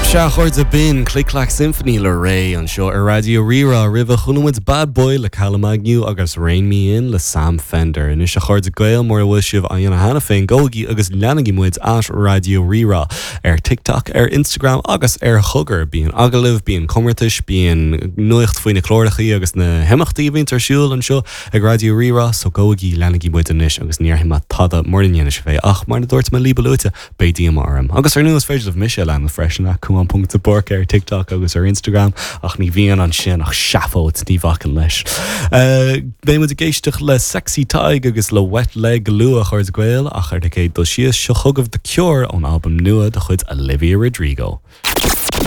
Sea, a chairde, b'in Click Clack Symphony le Raye anseo ar Raidió Rí-Rá. Roimhe, chuala muid Bad Boy le Callum Agnew agus Rein Me In le Sam Fender. Anois, a chairde Gael, mura bhfuil sibh á dhéanamh cheana féin, gabhaigí agus leanaigí muid at Raidió Rí-Rá ar TikTok, ar Instagram agus ar Chogar. Bíonn agallaimh, bíonn comórtais, bíonn nuacht faoi na clárachaí agus na himeachtaí a bhíonns ar siúl anseo ag Raidió Rí-Rá, so gabhaigí, leanaigí muid anois agus ní dhéarfaidh mé tada mura ndéanann sibh é ach, mar a dúirt mé libh a luaithe, Beidh díoma orm. Agus ar ndóigh is féidir libh mise a leanúint freisin, at Cuán ponc de Búrca ar TikTok agus ar Instagram, ach ní bhíonn ansin ach seafóid, ní bhacaim leis. Beidh muid ag éisteacht le Sexy Tadhg agus le Wet Leg go luath, a chairde Gael, ach ar an gcéad dul síos, seo chugaibh The Cure ón albam nua de chuid Olivia Rodrigo.